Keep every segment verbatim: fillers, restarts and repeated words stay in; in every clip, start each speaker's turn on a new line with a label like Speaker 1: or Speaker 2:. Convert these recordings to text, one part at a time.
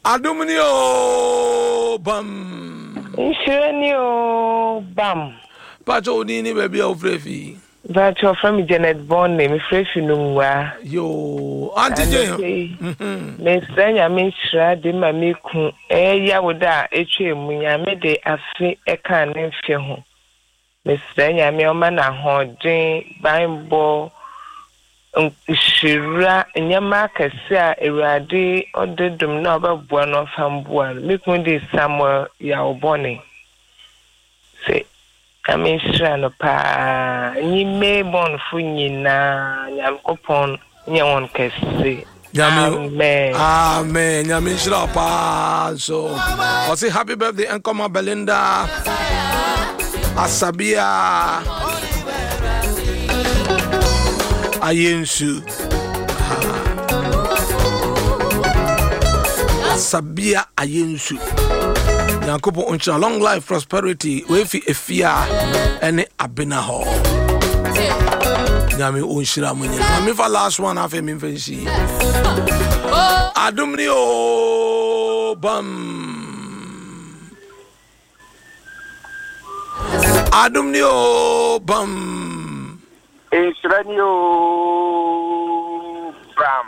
Speaker 1: Adom ni o bam.
Speaker 2: Nhyira ni o bam.
Speaker 1: Pacho wo din ne baabi a wofrɛ fi?
Speaker 2: Pacho ɔfrɛ me Janet Bonne, mefrɛ fi Nungua.
Speaker 1: Yo, Auntie Jane.
Speaker 2: Mhm. Mesrɛ Nyame nhyira de ma me ku. Ɛyɛ Yawoda a etwa mu Nyame de afe ɛka ne mfe ho. Mesrɛ Nyame ɔma no ahoɔden, banbɔ, nhyira, nneɛma akɛse a Awurade ɔde dom na ɔbɛboa no ɔmfa mboa no. Me kunu de Samuel Yawobɔne. Sɛ Nyame nhyira no paa. Nyi Maybonfo nyinaa Nyankopɔn nyɛ wɔn kɛse.
Speaker 1: Amen. Amen. Nyame nhyira paa so. Ɔse happy birthday nkɔma Belinda Asabia Ayensu. Asabia Ayensu. Nyankopɔn nhyira long life prosperity wefi efia ɛne abena hɔ. Nyame ɔnhyira mo nyinaa. Mefa last one afei memfa nsi. Adom ni o bam. Adom ni o bam.
Speaker 3: Nhyira ni o bam.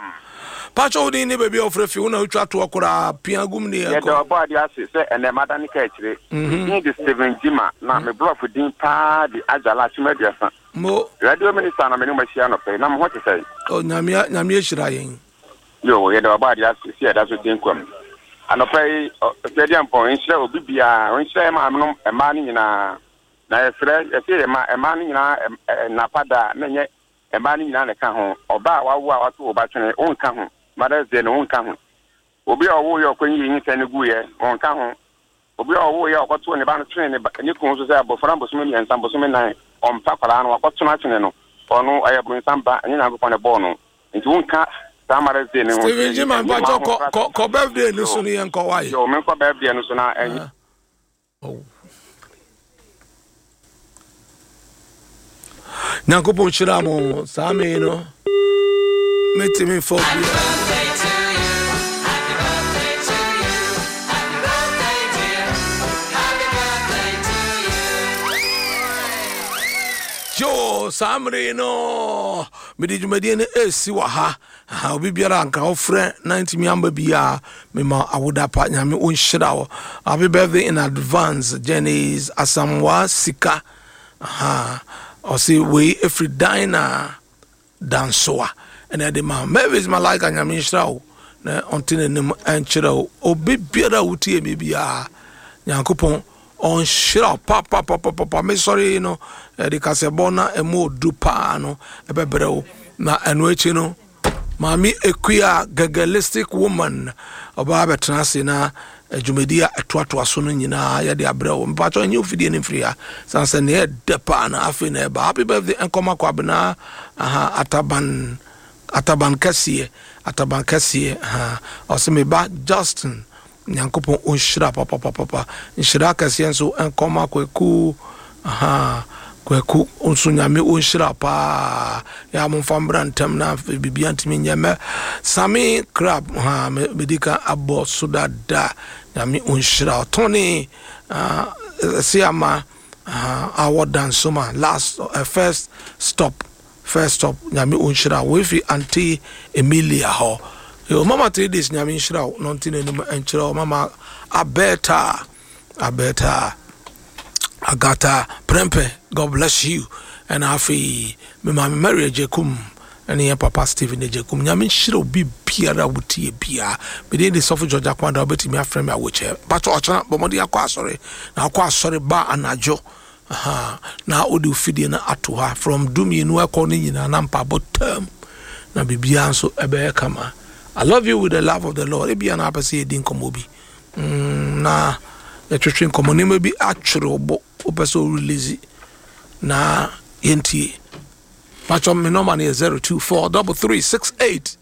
Speaker 1: Pacho wo din ne baabi a wofrɛ fi wo na wotwa toɔ koraa pia gum ne yɛnkɔ.
Speaker 3: Yɛda ɔbɔ ade ase sɛ ɛnɛ madane ka akyire. Me din de Stephen Gyima na me borɔfo din paa de Agyala Akyem Aduasa.
Speaker 1: Mo.
Speaker 3: Radio Minister na me ne mo ahyia anɔpa yi, na mo ho te sɛn?
Speaker 1: Oh, Nyame, Nyame ahyira yɛn.
Speaker 3: Yo, yɛda ɔbɔ ade ase sɛ yɛda so te nkwa mu. Anɔpa yi, Ɔsɛdiampɔn nhyira obi biara, ɔnhyira yɛn maamenom mmaa no nyinaa. Na yɛsrɛ, yɛse yɛ ma mmaa no nyinaa nnapa da a, na ɛnyɛ mmaa no nyinaa na ɛka ho. Ɔbaa a wawo a wato wo ba twene, wonka ho. Mother's Day no, wonka ho. Obi a ɔwoeɛ a ɔkɔyii nyinsɛn no guiɛ, ɔnka ho. Obi a ɔwoeɛ a ɔkɔtoo ne ba no twenee ne ba ne kunu so sɛ abɔfra no bosome mmiɛnsa, bosome nnan, ɔmpa akwadaa no, wakɔto no atwene no, ɔno ɔyɛ bronsam ba, ɛnyɛ Nyankopɔn na ɛbɔɔ no. Nti wonka saa Mother's Day no ho.
Speaker 1: Stephen Gyima, mpakyɛ kɔ kɔ kɔ birthday no so no yɛnkɔ wae.
Speaker 3: Yo, menkɔ birthday no so na ɛnyɛ.
Speaker 1: Oh. Nyankopɔn nhyira mo saa me no metumi mfa obi. Yo, saa mmere yi no mede dwumadie no ɛresi wɔ ha. Aha, obi biara anka wofrɛ na ntumi amba biara mema awoda pa. Nyame ɔnhyira wo. Happy birthday in advance, Janice Asamoah Sika. Aha, ɔse wei ɛfiri Dina Dansoa ɛna ɛde ma Mavis Malaika. Nyame nhyira wo na ɔnte n'anim ɛnkyerɛ wo. Obi biara a wotie me biara, Nyankopɔn ɔnhyira wo papapapapa. Mesɔre yi no ɛde kasɛbɔ na ɛmu odu paa no ɛbɛbrɛ wo, na ɛno akyi no Maame Akua Gagalistic Woman ɔbaa bɛtena ase na dwumadi a ɛtoatoa so no nyinaa yɛde abrɛ wo. Mpakyɛ ɛnyɛ ofidie no mfiri ha san sɛ nea ɛdɛ paa na afei na ɛba. Happy birthday nkɔma Kwabena aha Ataban Ataban kɛseɛ Ataban kɛseɛ aha ɔsɛ me ba Justin. Nyankopɔn ɔnhyira papapapapa. Nhyira kɛseɛ nso nkɔma Kwaku aha Kwaku nso Nyame ɔnhyira paa. Yɛ a momfa mbra ntɛm na afei biribia ntumi nyɛ mɛ Sami Crab ha medi ka abɔ so dada. Nyame ɔnhyira ɔtɔne ɛse ama awɔ dansoma last uh, first stop first stop. Nyame ɔnhyira wo efi Auntie Emilia hɔ. Yo, mama three days Nyame nhyira wo na ɔnte n'anim nkyerɛ wo. Mama Abeta Abeta Agata Prempe, God bless you. Ɛna afei me maame Mary Agyekum ɛne yɛn papa Stephen Agyekum. Nyame nhyira obi biara wotie biara. Mede de sɔfo George Akwanda, wobɛtumi afrɛ me awokyɛ. Patɔ ɔkyena bɔ mmɔden akɔ asɔre na akɔ asɔre ba anadwo. Aha, na wode ofidie no ato ha from dumienu ɛkɔ no nyinaa na mpaabɔ tam na biribiara nso ɛbɛyɛ kama. I love you with the love of the Lord. Ebia na apɛ sɛ yɛdi nkɔmmɔ bi mm, na yɛtwetwe nkɔmmɔ nneɛma bi atwere wo bo wopɛ sɛ wo release na yɛntie. Patwɔ me nɔma no yɛ zero two four double three six eight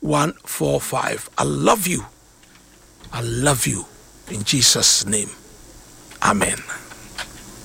Speaker 1: one four five. I love you. I love you in Jesus' name. Amen.